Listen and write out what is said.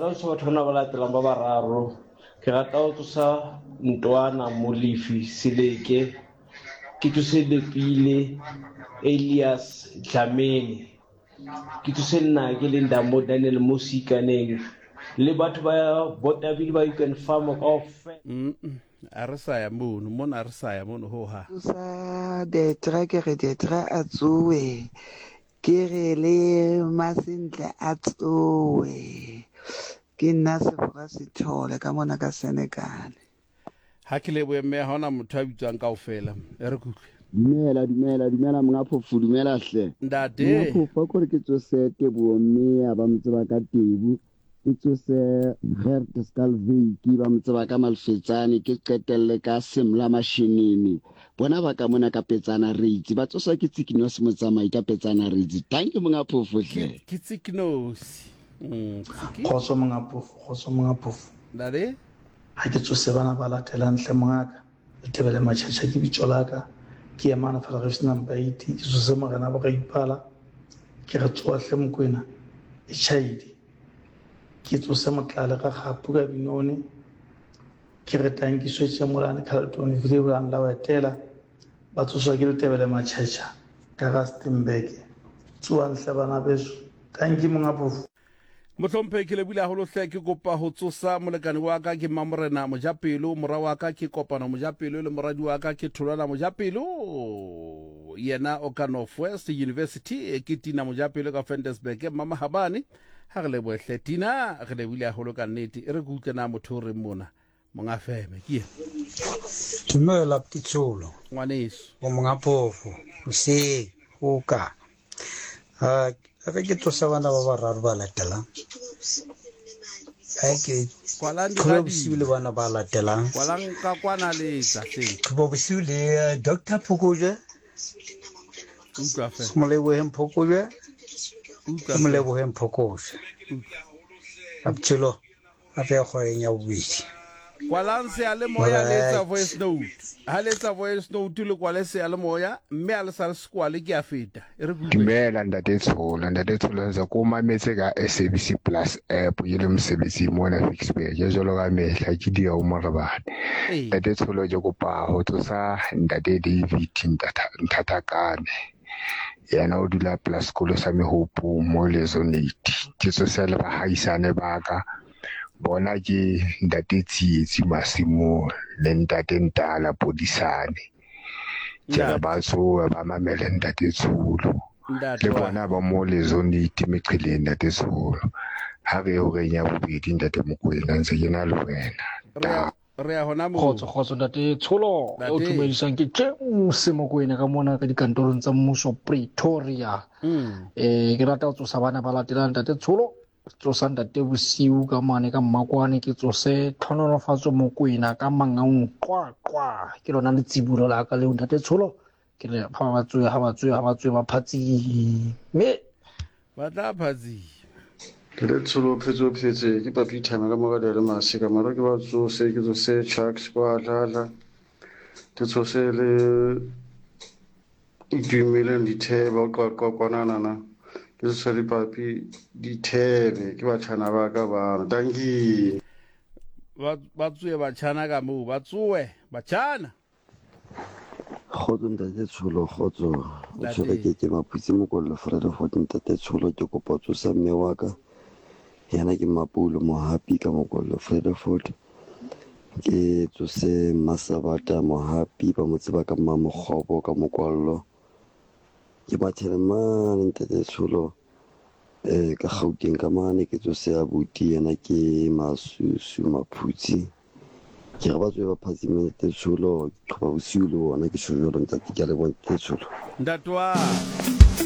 Rata ho tsosa batho bana ba latelang ba bararo. Ke rata ho tsosa Ntwana Molefi Seleke, ke tsose Lepile Elias Dlamini, ke tsose nnake le Ndamo Daniel mo Seikaneng le batho ba Botabile ba You Can Farm kaofela. A re sa ya mono, mona a re sa ya mono ho ha. Tsosa Detra ke re Detra a tsoe ke re le Masentle a tsoe ke nna Sefora Sithole ka mona ka Senegal. Ha ke lebohe mme ha ona motho a bitswang kaofela. E re kutlwe. Dumela, dumela, dumela monga phofu, dumela hle. Ntate. Monga phofu, a kore ke tsose Teboho mme a ba mo tseba ka Tebu. Ke tsose Gert Skalveiki, ba mo tseba ka Malfetsane, ke qetelle ka Semla Mashinini. Bona ba ka mona ka Petsana Reitsi, ba tsoswa ke Tsikinosi Motsamai ka Petsana Reitsi. Thank you monga phofo hle. Ke Tsikinosi. Mm, Tsiki. Kgotso monga phofo, kgotso monga phofo. Ntate. Ha ke tsose bana ba latelang hle mongaka. Letebele Machacha ke bitso la ka. Ke emana fela ge number 8 ke tsose morena bo Raipala. Ke re tsoa hle Mokwena e chaidi. Ke tsose Motlale ga Kgapu ka Binone. Ke re tanki swetse Molane Carlton Vleeuwland la Wetela. Ba tsoswa ke Letebele Machacha ka Rustenburg. Tsoang hle bana beso. Tanki monga phofu. Mohlomphehi ke lebile haholo hle ke kopa ho tsosa molekane wa ka ke Mmamorena Mojapelo, mora wa ka ke Kopano Mojapelo le moradi wa ka ke Tholwana Mojapelo yena o ka North West University ke Tina Mojapelo ka Ventersburg Mmamahabane ha re lebohe hle Tina re lebile haholo ka nnete e re ke utlwe na motho o reng mona Monga feme ke ye. Dumela Pitsholo. Ngwaneso. O monga phofo. Hoseng o ka. Ha re ke tsosa bana ba bararo ba latelang. Ha ke Kwalang Qhoba bosiu le bana ba latelang. Kwalang ka kwana le tla hleng. Qhoba bosiu le eh, Dr. Phokojwe. Utlwa fe. Moleboheng Phokojwe. Utlwa. Moleboheng Phokojwe. Aptsholo. Gape ya kgoreng ya bobedi. Kwalang seyalemoya le etsa voice note. Ha le etsa voice note le kwale seyalemoya mme ha le sa le se kwale ke a feta. E re ke utlwe. Dumela ntate Tsholo, ntate Tsholo ntse ko mametse ka SABC Plus app ke le mosebetsing mona Ficksburg jwalo ka mehla ke dia o morebane. Ee. Ntate Tsholo ke kopa ho tsosa ntate David Nthathakane. Yena o dula pela sekolo sa Mehopong mo Lezonate. Ke tsose le bahaisane ba ka. Bona ke ntate Tsietsi Masimong le ntate Ntala Podisane. Ke re ba tsohe ba mamele ntate Tsholo. Le bona ba mo Lezonate meqheleng ntate Tsholo. Ha re ye horeng ya bobedi ntate Mokoena ntse ke na le wena. Ta. Re ya hona moo. Kgotso, kgotso ntate Tsholo. O tumedisang ke James Mokoena ka mona ka dikantorong tsa mmuso Pretoria. Eh ke rata ho tsosa bana ba latelang ntate Tsholo. Tsosa ntate Bosiu ka mane ka Mmakwane ke tsose Tlhonolofatso Mokoena ka Mangaung qwa qwa. Ke lona letsibulo la ka leo ntate Tsholo. Ke re ha ba tsoe ha ba tsoe ha ba tsoe ba phatsime. Ba tla phatsima. Ke le tsholo phetse o phetse ke papi thama ka moka le masika mara ke ba tsose ke tsose chucks kwa dlala ke tsose le itumeleng dithebe o qwaqwa kwanana ke tsose le papi dithebe ke batjhana ba ka bana tanki ba tsoe batjhana ka moo ba tsoe batjhana Kgotso ntate Tsholo, kgotso. O tshwere ke ke Maphutse Mokollo Vredefort ntate Tsholo ke kopa tsosa mme wa ka. Yena ke Mapoulo Mohapi ka Mokollo Vredefort. Ke tsose Mmasabata Mohapi ba mo tseba ka Mmamokgobo ka Mokwallo. Ke mathele mane ntate Tsholo eh ka Gauteng ka mane ke tsose abuti yena ke Masusu Maphutse. Ke re ba tswe ba phatsime ntate Tsholo, ke qhoba bosiu le bona ke tjho jwalo ntate ke a leboha ntate Tsholo. Ntate wa.